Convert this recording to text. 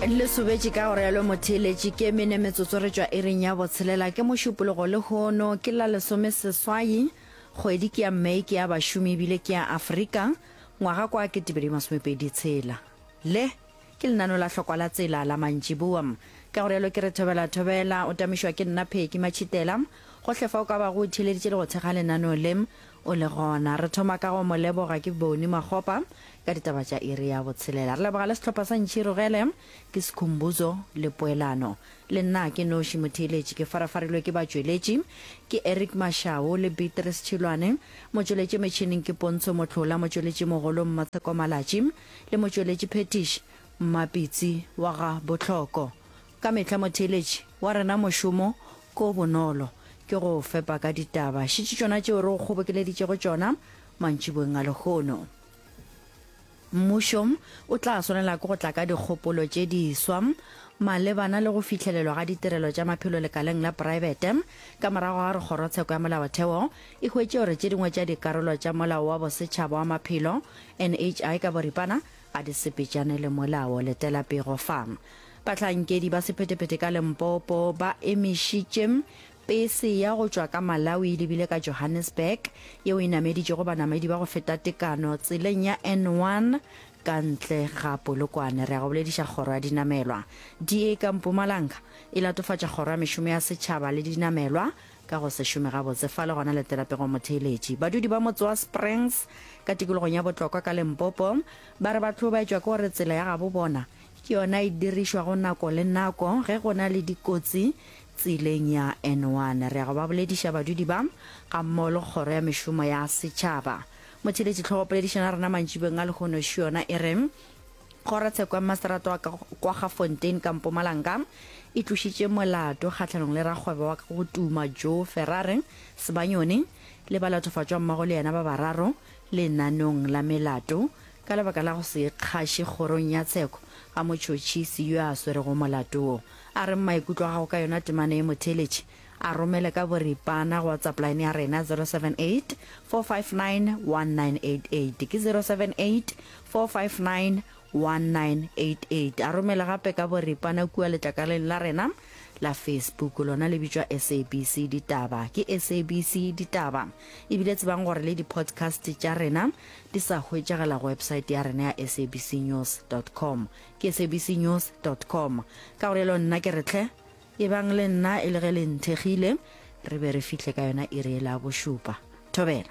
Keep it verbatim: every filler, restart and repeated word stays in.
Le sobetše ka go realo motheeletši ke mene metsotso re tšwa iring ya botshelela ke mošupologo lehono ke la lesome seswai kgwedi ke ya May ke ya bašomi ebile ke ya Afrika ngwaga kwa ketepedi masomepedi tshela le ke lenano la hlokwa la tsela la mantšiboa ka go realo ke re thobela thobela o tamišwa ke nna Pheki Matšhitela gohle fa o ka bago o theeleditše le go thekga lenaneo le o le gona re thoma ka go mo leboga ke Boni Makgopa ka ditaba tša iri ya botshelela re leboga le sehlopha sa Ntšhirogele ke Sekhumbuzo le Poelano le nna ke noši motheeletši ke farafarilwe ke batšweletši ke Eric Mashao le Beatrice Tšhilwane motšweletši metšhineng ke Pontsho Mohlola motšweletši mogolo Mmatsheko Malatši le motšweletši phetiši Mmapitsi wa ga Botlhoko ka mehla motheeletši wa rena mošomo ko bonolo ke go fepa ka ditaba šitše tšona tšeo re go kgobokeleditšego tšona mantšiboeng a lehono mmušo o tla swanela ke go tla ka dikgopolo tše diswa malebana le go fihlelelwa ga ditirelo tša maphelo lekaleng la praebete ka morago ga gore kgorotsheko ya molaotheo e hwetše gore tše dingwe tša dikarolo tša molao wa bosetšhaba wa maphelo N H I ka boripana ga di sepetšane le molao letela pego fa bahlankedi ba sephethephethe ka Limpopo ba emišitše pese ya go tšwa ka Malawi e lebile ka Johannesburg yeo e nameditšego banamedi ba go feta tekano tseleng ya N one ka ntle ga Polokwane re ya go bolediša kgoro ya dinamelwa D A ka Mpumalanga e latofatša kgoro ya mešomo ya setšhaba le dinamelwa ka go se šome gabotse fa le gona letela pego motheeletši badudi ba motse wa Springs ka tikologong ya Botlokwa ka Limpopo ba re ba hlobaetšwa ke gore tsela ya gabo bona ke yona e dirišwago nako le nako ge go na le dikotsi tseleng ya N one re ya go ba bolediša badudi ba ga mmogo le kgoro ya mešomo ya setšhaba motheeletši tlhogopoledišana rena mantšibeng a lehono še yona e re kgorotsheko ya maseterata wa kwa Gafontein ka Mpumalanga e tlošitše molato kgahlanong le rakgwebo wa go tuma Joe Ferrari Sebanyoni le balatofatšwa mmogo le yena ba bararo lenanong la melato ka lebaka la go se ikgaše kgorong ya tsheko ga motšhotšhisi yo a swerego molato wo a re maikutlo a gago ka yona temana ye motheeletši a romele ka boripana go WhatsApp line ya rena zero seven eight, four five nine, one nine eight eight ke zero seven eight, four five nine, one nine eight eight a romele gape ka boripana kua letlakaleng la rena la Facebook lona le bitšwa S A B C Ditaba ke S A B C Ditaba ebile tsebang gore le di-podcast tša rena di sa hwetšagala go website ya rena ya S A B C news dot com ke S A B C news dot com ka gore elo nna ke re tlhe e bang le nna e le ge le nthekgile re be re fihle ka yona iri e la bošupa thobela.